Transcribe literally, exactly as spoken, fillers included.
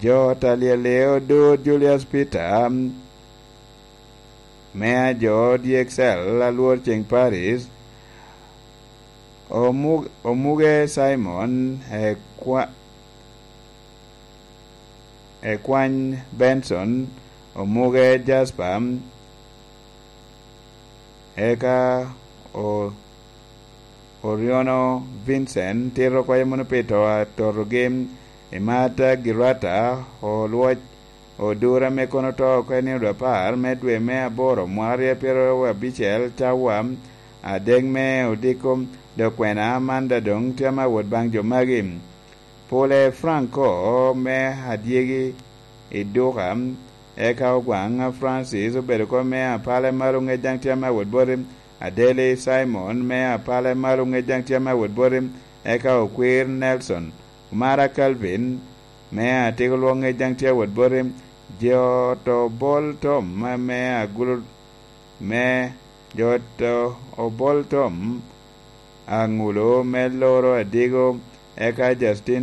Jo talyel odur Julius Peter, me a jo D X L alwor ceng Paris, omu-, omuge Simon, ekwa-, ekwany Benson, omuge Jasper, eka o-, Oriono Vincent tito oko mono pi to atotogi, Imata Girata, olwoc odur ame kono oto oko i nino apar me dwe me aboro mwaka aryo pyeraryo abicel, cawa adek me odiko, dok kwena man daŋ doŋ tye ame awot baŋ jo magi. Pule Franco me adyegi i duka, eka Ogwaŋ Francis obedo kop me apale malo ŋec daŋ tye ame awot boti, Adeli Simon me apale malo ŋec daŋ tye ame awot boti, eka Okwir Nelson, Omara Calvin me atiko lwok ŋec daŋ tye awot boti, jo to bol tom me agulo, me jo to obol tom aŋulo me loro adigo, eka Justin